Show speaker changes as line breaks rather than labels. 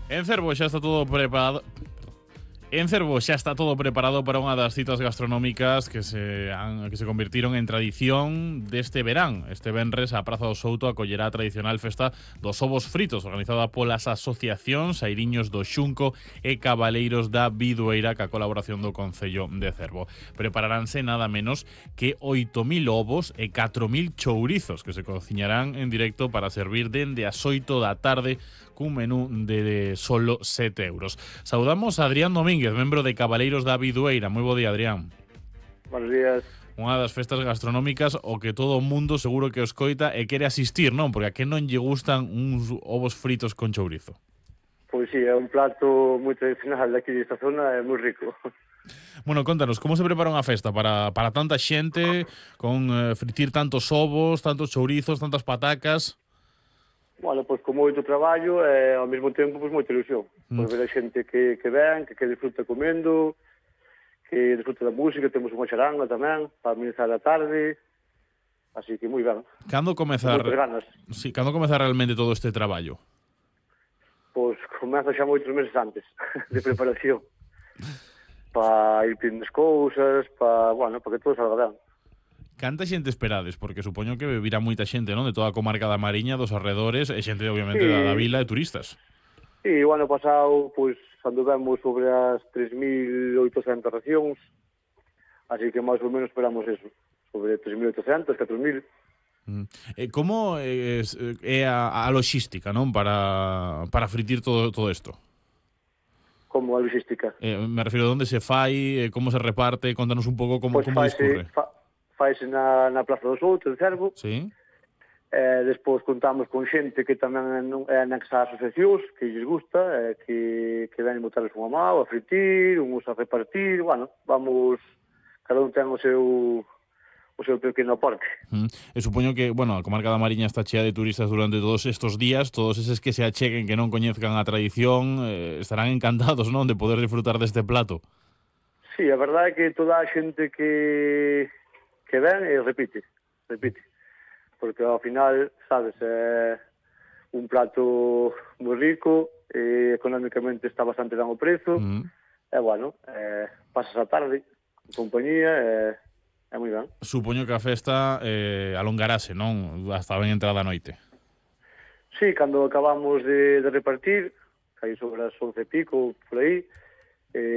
En Cervo xa está todo preparado. En Cervo xa está todo preparado para unha das citas gastronómicas que se convirtiron en tradición deste verán. Este venres a Praza do Souto acollerá a tradicional festa dos ovos fritos, organizada polas asociacións Airiños do Xunco e Cabaleiros da Bidueira, ca colaboración do Concello de Cervo. Prepararánse nada menos que 8.000 ovos e 4.000 chourizos que se cociñarán en directo para servir dende as 8 da tarde cun menú de solo 7 euros. Saudamos a Adrián Domínguez, membro de Cabaleiros da Bidueira. Moi bo día, Adrián.
Buenos días.
Unha das festas gastronómicas o que todo o mundo seguro que os coita e quere asistir, non? Porque a que non lle gustan uns ovos fritos con chourizo?
Pois sí, é un plato moi tradicional daqui desta zona, é moi rico.
Bueno, contanos, como se prepara unha festa para tanta xente, con fritir tantos ovos, tantos chourizos, tantas patacas?
Bueno, pois con moito traballo e ao mesmo tempo pois moita ilusión. Pois ver a xente que ven, que disfruta comendo, que disfruta da música, temos unha charanga tamén para amenizar a tarde. Así que moi ben.
Cando comezar?
Moitas ganas.
Sí, cando comezar realmente todo este traballo?
Pois comeza xa moitos meses antes de preparación. Para ir pedindo as cousas, para que todo salga ben.
Canta xente esperades? Porque supoño que virá moita xente, non? De toda a comarca da Mariña, dos arredores, e xente, obviamente,
Sí.
da vila e turistas.
E o ano pasado, pois, anduvemos sobre as 3.800 racións, así que máis ou menos esperamos eso, sobre 3.800, 4.000.
Como é a logística, non? Para fritir todo isto?
Como a logística?
Me refiro a onde se fai, como se reparte, contanos un pouco como
Faise na Plaza do Souto, de Cervo.
Sí.
Despois contamos con xente que tamén é anexa a asociacións, que lles gusta, que ven botarles unha mão, a fritir, uns a repartir, vamos, cada un ten o seu pequeno aporte.
E supoño que, a comarca da Mariña está chea de turistas durante todos estes días, todos eses que se acheguen, que non coñezcan a tradición, estarán encantados, non, de poder disfrutar deste plato.
Sí, a verdade é que toda a xente que ven repite, porque ao final, sabes, é un plato moi rico, económicamente está bastante ben o prezo, pasas a tarde en compañía, é moi ben.
Supoño que a festa alongarase, non? Hasta ben entrada a noite.
Sí, cando acabamos de repartir, aí sobre as 11 e pico, por aí,